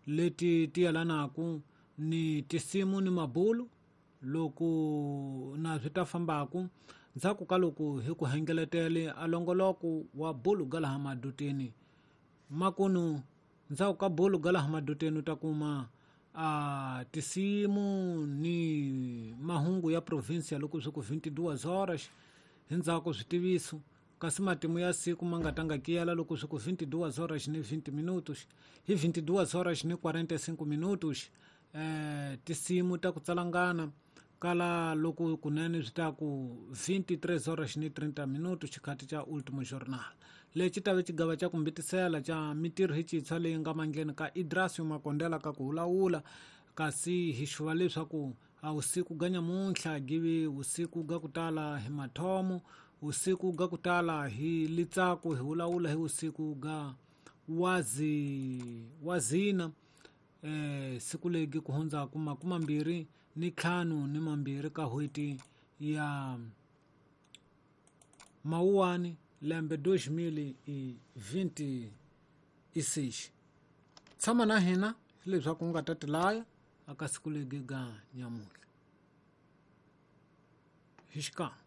Leti ti yelanaku ni tisimu ni mabulu loku na swi ta fambaku ndzhaku ka loko hi ku hengeletele a longoloko wa bulu ga laha maduteni. Makunu ndzhaku ka bulu ga laha maduteni u ta kuma a tisimu ni mahungu ya provinsia loko swi ku 22 horas hi ndzhaku switiviso kasi matimu ya siku ma nga tanga kiyela loko swi ku 22 horas ni 20 minutos hi 22 horas ni 45 minutos tisimu ta ku tsalangana kala loko kunene swi ta ku 23 horas ni 30 minutos xikhati xa Ultimo Jornal. Lexi ta ve xigava xa ku mbitisela xa mitirho hi xintshwa leyi nga mandleni ka Idrasio Makondela ka ku hulawula kasi hi xuva leswaku a vusiku ga nyamuntlha givi vusiku ga ku tala hi mathomo vusiku ga ku tala hi litsaku hi hulawula hi vusiku ga wazi wazina siku legi ku hundzaku makumambirhi ni ntlhanu ni mambirhi ka n'hweti ya Mawuwani lembe 2026. Tshama na hina hileswaku u nga ta tilaya aka siku legi ga nyamuntlha hi xikan'we.